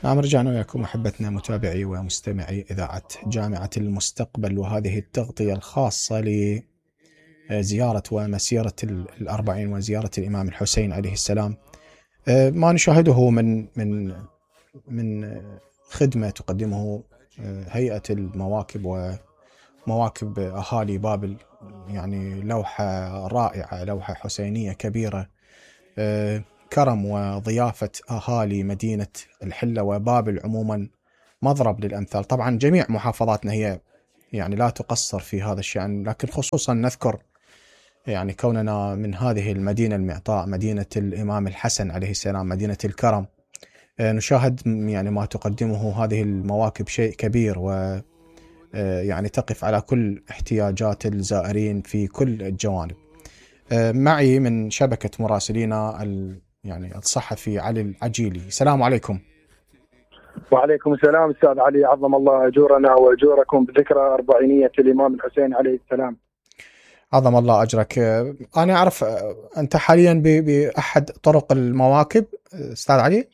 نعم، رجعنا وياكم أحبتنا متابعي ومستمعي إذاعة جامعة المستقبل، وهذه التغطية الخاصة لزيارة ومسيرة الأربعين وزيارة الإمام الحسين عليه السلام. ما نشاهده من خدمة تقدمه هيئة المواكب ومواكب أهالي بابل، يعني لوحة رائعة، لوحة حسينية كبيرة، كرم وضيافة أهالي مدينة الحلة وبابل عموما مضرب للأمثال. طبعا جميع محافظاتنا هي يعني لا تقصر في هذا الشأن، لكن خصوصا نذكر يعني كوننا من هذه المدينة المعطاء، مدينة الإمام الحسن عليه السلام، مدينة الكرم، نشاهد يعني ما تقدمه هذه المواكب شيء كبير، و يعني تقف على كل احتياجات الزائرين في كل الجوانب. معي من شبكة مراسلينا يعني الصحفي علي العجيلي. السلام عليكم. وعليكم السلام أستاذ علي، عظم الله أجورنا وأجوركم بذكرى أربعينية الإمام الحسين عليه السلام. عظم الله أجرك. أنا أعرف أنت حاليا بأحد طرق المواكب أستاذ علي؟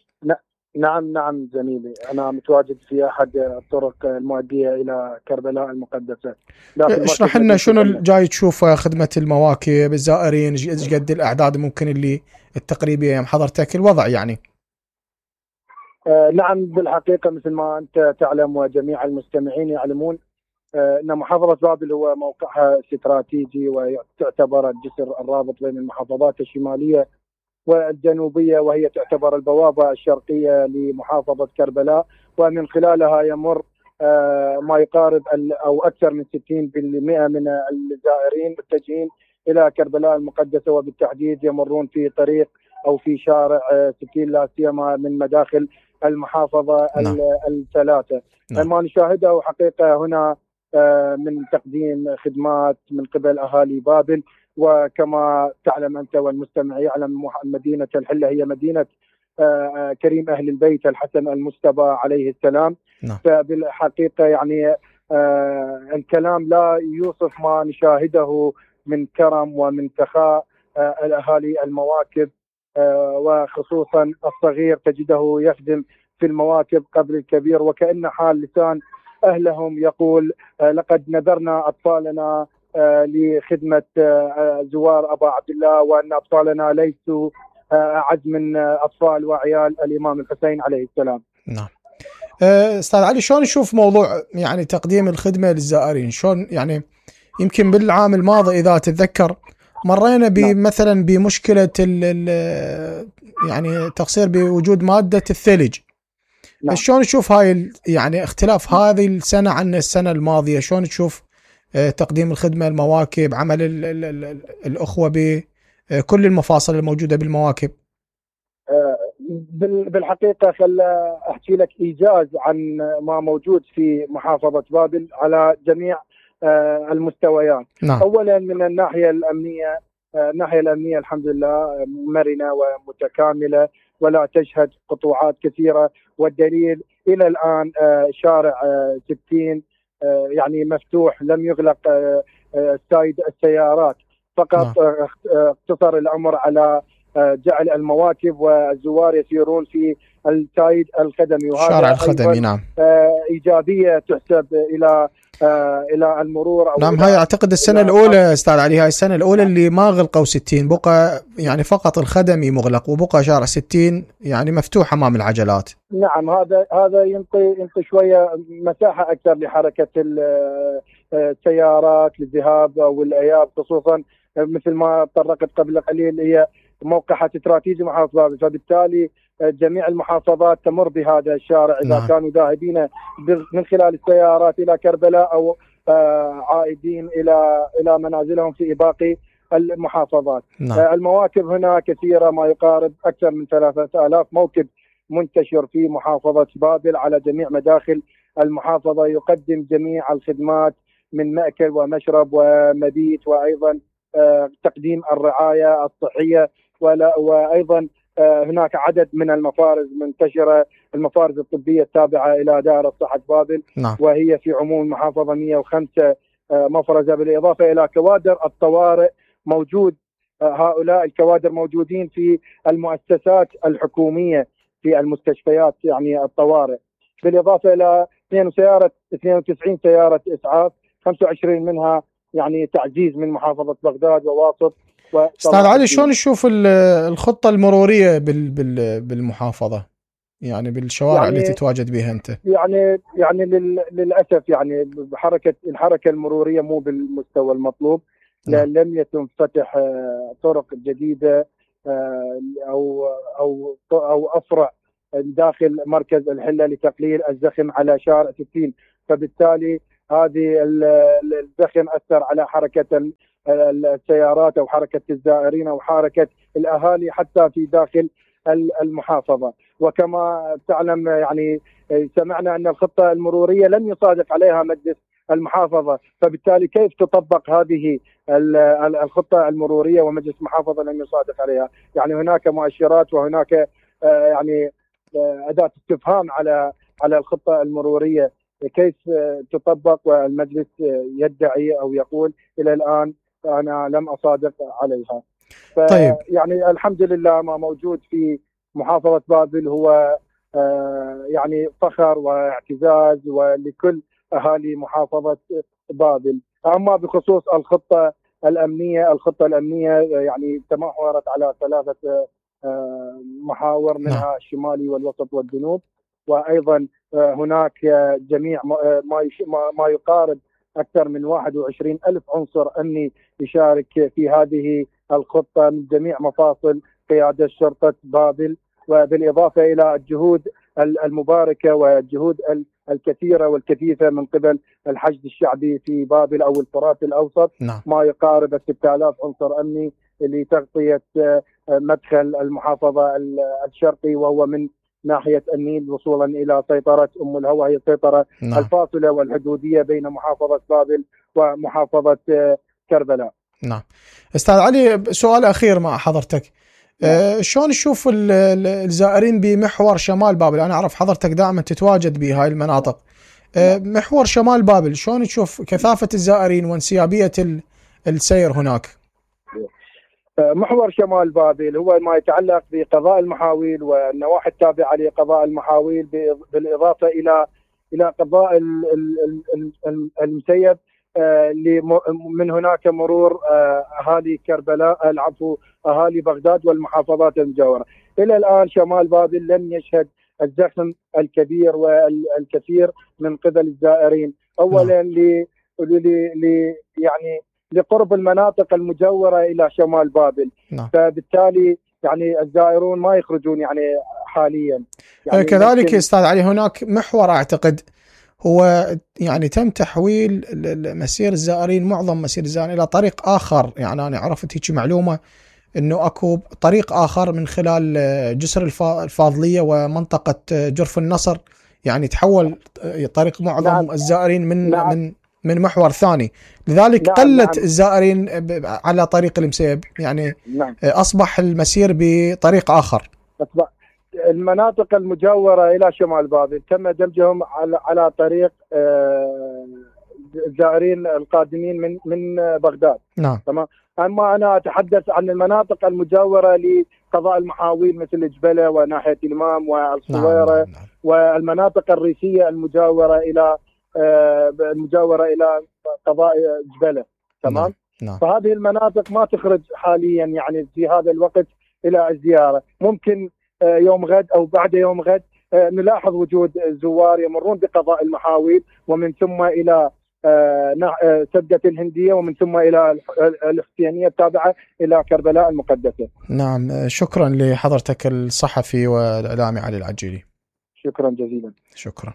نعم زميلي، أنا متواجد في أحد الطرق المؤدية إلى كربلاء المقدسة. اشرح لنا شنو جاي تشوف خدمة المواكب، الزائرين ايش قد الأعداد ممكن اللي التقريبية يوم حضرتك الوضع يعني؟ نعم، بالحقيقة مثل ما أنت تعلم وجميع المستمعين يعلمون أن محافظة بابل هو موقعها استراتيجي، وتعتبر الجسر الرابط بين المحافظات الشمالية والجنوبية، وهي تعتبر البوابة الشرقية لمحافظة كربلاء، ومن خلالها يمر ما يقارب أو أكثر من 60% من الزائرين متجهين إلى كربلاء المقدسة، وبالتحديد يمرون في طريق أو في شارع 60 لا سيما من مداخل المحافظة الثلاثة. ما نشاهده حقيقة هنا من تقديم خدمات من قبل أهالي بابل، وكما تعلم أنت والمستمع يعلم مدينة الحلة هي مدينة كريم أهل البيت الحسن المجتبى عليه السلام. فبالحقيقة يعني الكلام لا يوصف ما نشاهده من كرم ومن سخاء الأهالي المواكب، وخصوصا الصغير تجده يخدم في المواكب قبل الكبير، وكأن حال لسان أهلهم يقول لقد نذرنا أطفالنا لخدمة زوار أبا عبد الله، وأن أطفالنا ليسوا أعز من أطفال وعيال الإمام الحسين عليه السلام. نعم. أستاذ علي، شلون نشوف موضوع يعني تقديم الخدمة للزائرين؟ شلون يعني يمكن بالعام الماضي إذا تتذكر مرينا مثلا بمشكلة يعني تقصير بوجود مادة الثلج. شلون نشوف هاي يعني اختلاف هذه السنة عن السنة الماضية؟ شلون تشوف تقديم الخدمة المواكب، عمل الأخوة بكل المفاصل الموجودة بالمواكب؟ بالحقيقة خل أحكي لك إيجاز عن ما موجود في محافظة بابل على جميع المستويات. نعم. أولا من الناحية الأمنية، الناحية الأمنية الحمد لله مرنة ومتكاملة ولا تشهد قطوعات كثيرة، والدليل إلى الآن شارع 60 يعني مفتوح، لم يغلق سايد السيارات، فقط اقتصر الأمر على جعل المواكب والزوار يسيرون في السايد الخدمي، وهذا شارع الخدمي. نعم. إيجابية تحسب إلى المرور. نعم، هاي أعتقد السنة الأولى أستاذ علي، هاي السنة الأولى اللي ما غلقوا 60، بقى يعني فقط الخدمي مغلق، وبقى شارع 60 يعني مفتوح أمام العجلات. نعم، هذا ينطي شوية مساحة أكثر لحركة السيارات للذهاب والإياب، خصوصا مثل ما تطرقت قبل قليل هي موقعها استراتيجي محافظة بابل، فبالتالي جميع المحافظات تمر بهذا الشارع إذا نعم. كانوا ذاهبين من خلال السيارات إلى كربلاء أو عائدين إلى منازلهم في باقي المحافظات. نعم. المواكب هنا كثيرة، ما يقارب أكثر من 3000 موكب منتشر في محافظة بابل على جميع مداخل المحافظة، يقدم جميع الخدمات من مأكل ومشرب ومبيت، وأيضا تقديم الرعاية الصحية، وأيضا هناك عدد من المفارز منتشرة، المفارز الطبية التابعة إلى دائرة صحة بابل. نعم. وهي في عموم المحافظة 105 مفرزة، بالإضافة إلى كوادر الطوارئ موجود. هؤلاء الكوادر موجودين في المؤسسات الحكومية في المستشفيات يعني الطوارئ، بالاضافه الى 92 سياره اسعاف، 25 منها يعني تعزيز من محافظه بغداد وواسط. استاذ علي، شلون تشوف الخطه المروريه بالمحافظه، يعني بالشوارع يعني اللي تتواجد بها انت؟ يعني للاسف يعني الحركه المروريه مو بالمستوى المطلوب. لم يتم فتح طرق جديده او افرع داخل مركز الحله لتقليل الزخم على شارع 60، فبالتالي هذه الزخم اثر على حركه السيارات او حركه الزائرين او حركه الاهالي حتى في داخل المحافظه. وكما تعلم يعني سمعنا ان الخطه المروريه لم يصادق عليها مجلس المحافظه، فبالتالي كيف تطبق هذه الخطه المروريه ومجلس المحافظه لم يصادق عليها؟ يعني هناك مؤشرات وهناك يعني اداه استفهام على الخطه المروريه كيف تطبق، والمجلس يدعي او يقول الى الان انا لم اصادق عليها. طيب يعني الحمد لله ما موجود في محافظه بابل هو يعني فخر واعتزاز ولكل اهالي محافظه بابل. اما بخصوص الخطه الامنيه يعني تمحورت على 3 محاور، منها الشمالي والوسط والجنوب، وايضا هناك جميع ما يقارب اكثر من 21 ألف عنصر امني يشارك في هذه الخطه من جميع مفاصل قياده شرطه بابل، وبالاضافه الى الجهود المباركه والجهود الكثيره والكثيفه من قبل الحشد الشعبي في بابل او الفرات الاوسط. ما يقارب 6000 عنصر امني لتغطيه مدخل المحافظه الشرقي، وهو من ناحيه النيل وصولا الى سيطره ام الهوى، هي السيطره الفاصله والحدوديه بين محافظه بابل ومحافظه كربلاء. نعم. استاذ علي، سؤال اخير مع حضرتك. شلون تشوف الزائرين بمحور شمال بابل؟ انا اعرف حضرتك دائما تتواجد بهاي المناطق. محور شمال بابل شلون تشوف كثافه الزائرين وانسيابيه السير هناك؟ محور شمال بابل هو ما يتعلق بقضاء المحاويل والنواحي التابعه لقضاء المحاويل، بالاضافه الى قضاء المسيب، من هناك مرور اهالي كربلاء العفو اهالي بغداد والمحافظات المجاوره. الى الان شمال بابل لم يشهد الزخم الكبير والكثير من قبل الزائرين، اولا يعني لقرب المناطق المجاوره الى شمال بابل. فبالتالي يعني الزائرون ما يخرجون يعني حاليا. يعني كذلك استاذ علي، هناك محور اعتقد هو يعني تم تحويل مسير الزائرين، معظم مسير الزائرين الى طريق اخر. يعني انا عرفت هيك معلومه انه اكو طريق اخر من خلال جسر الفاضليه ومنطقه جرف النصر، يعني تحول طريق معظم الزائرين من محور ثاني، لذلك قلت الزائرين على طريق المسيب، يعني اصبح المسير بطريق اخر. المناطق المجاورة إلى شمال بابل تم دمجهم على طريق الزائرين القادمين من بغداد. تمام. أما أنا أتحدث عن المناطق المجاورة لقضاء المحاويل مثل جبلة وناحية الإمام والصويرة. والمناطق الريفية المجاورة إلى قضاء جبلة. تمام. فهذه المناطق ما تخرج حاليا يعني في هذا الوقت إلى الزيارة. ممكن يوم غد أو بعد يوم غد نلاحظ وجود زوار يمرون بقضاء المحاويل، ومن ثم إلى سدة الهندية، ومن ثم إلى الحسينية التابعة إلى كربلاء المقدسة. نعم، شكرا لحضرتك الصحفي والإعلامي علي العجيلي. شكرا جزيلا. شكرا.